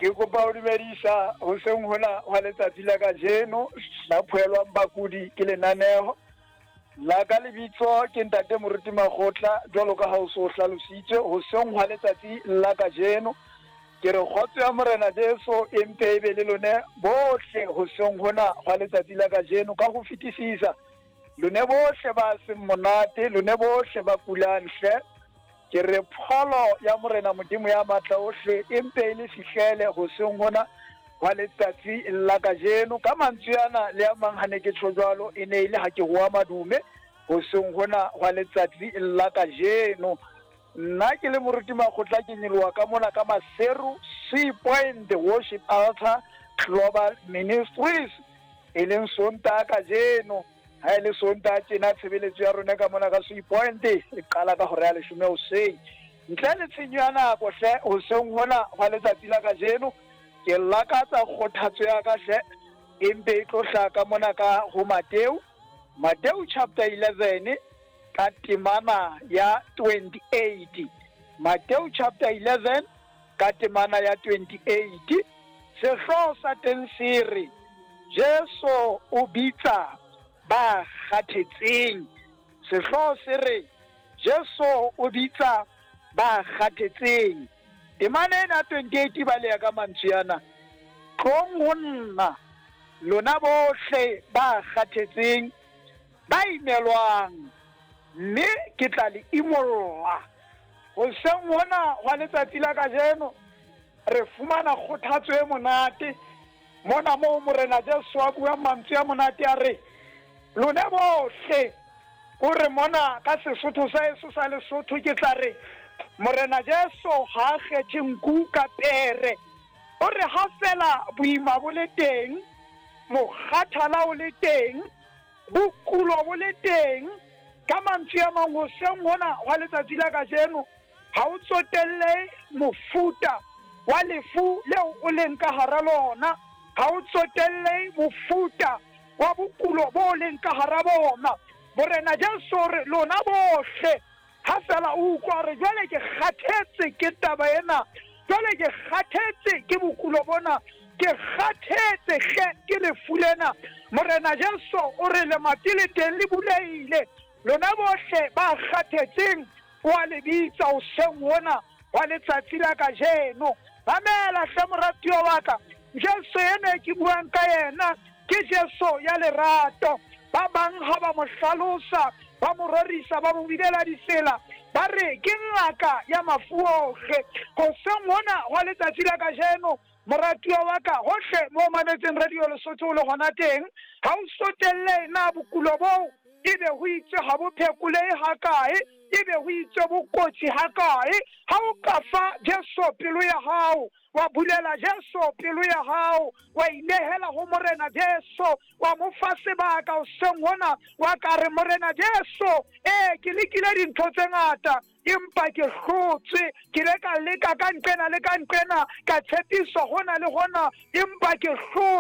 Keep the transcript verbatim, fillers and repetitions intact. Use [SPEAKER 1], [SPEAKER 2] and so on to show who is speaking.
[SPEAKER 1] Ke kopa ho dumedisa hoseng hona hwa letsatsi la kajeno la phuelwang bakudi ke lenaneho la ka. Lebitso ke ntate Moruti Makgotla, jwalo ka ha o so hlalositswe. Hoseng hwa letsatsi la kajeno ke re kgotso ya Morena Jesu e mpe e be le lone bohle hoseng hona hwa letsatsi la kajeno, ka ho fetisisa lone bohle ba seng monate, lone bohle ba kulang hle. Ke re pholo ya Morena Modimo ya matla ohle e mpe e le fihlele hoseng hona hwa letsatsi la kajeno. Ka mantswe ana le a mang, ha ne ke tjho jwalo, e ne e le ha ke hoa madume hoseng hona hwa letsatsi la kajeno. Nna ke le Moruti Makgotla, ke nyoloha ka mona ka Maseru, Sea Point Worship Altar Global Ministries, e leng Sontaha kajeno. Ha e le Sontaha tjena, tshebeletso ya rona ka mona ka Sea Point e qala ka hora ya leshome hoseng. Ntle le tshenyo ya nako hle, hoseng hona hwa letsatsi la kajeno ke lakatsa kgothatso ya ka hle e mpe e tlo hlaha ka mona ka ho Mateo, Mateo chapter eleven ka temana ya twenty-eight. Mateo chapter eleven ka temana ya twenty-eight. Sehlooho sa teng se re Jesu o bitsa ba kgathetseng. Sehlooho se re Jesu o bitsa ba kgathetseng. Temana ena twenty-eight ba leya ka mantswe ana: tlong ho nna lona bohle ba kgathetseng, ba imelwang, mme ke tla le imolla. Hoseng hona hwa letsatsi la kajeno re fumana kgothatso e monate mona moo Morena Jesu a buang mantswe a monate, a re lona bohle. O re mona ka Sesotho sa eso sa Lesotho, ke tla re Morena Jesu ha a kgethe nku ka pere. O re ha fela boima bo le teng, mokgathala o le teng, bokulo bo le teng. Ka mantswe a mang, hoseng hona hwa letsatsi la kajeno, ha o tsotelle mofuta wa lefu leo o leng ka hara lona, ha o tsotelle mofuta wa bokulo bo leng ka hara bona, Morena Jesu re lona bohle, ha fela o utlwa re jwale ke kgathetse ke taba ena, jwale ke kgathetse ke bokulo bona, ke kgathetse hle ke lefu lena, Morena Jesu o re lemati le teng le bulehile. Lona bohle ba kgathetseng wa le bitsa hoseng hona wa letsatsi la kajeno. Mamela hle moratuwa wa ka, Jesu ena ke buang ka yena ke Jesu ya lerato. Ba bang ha ba mo hlalosa, ba mo rorisa, ba mo binela ditsela, ba re ke ngaka ya mafu ohle. Hoseng hona hwa letsatsi la kajeno, moratuwa wa ka, hohle mo mametseng Radio Lesotho o le hona teng, ha o sotelle na bokulo boo ebe ho itswe ha bo phekolehe hakae, ebe ho itswe bo kotsi hakae. Ha o ka fa Jesu pelo ya hao, wa bulela Jesu pelo ya hao, wa inehela ho Morena Jesu, wa mo fa sebaka hoseng hona, wa ka re Morena Jesu, ee ke lekile dintho tse ngata empa ke hlotswe, ke ile ka leka ka nqena le ka nqena, ka tshepiswa hona le hona empa ke hlotswe.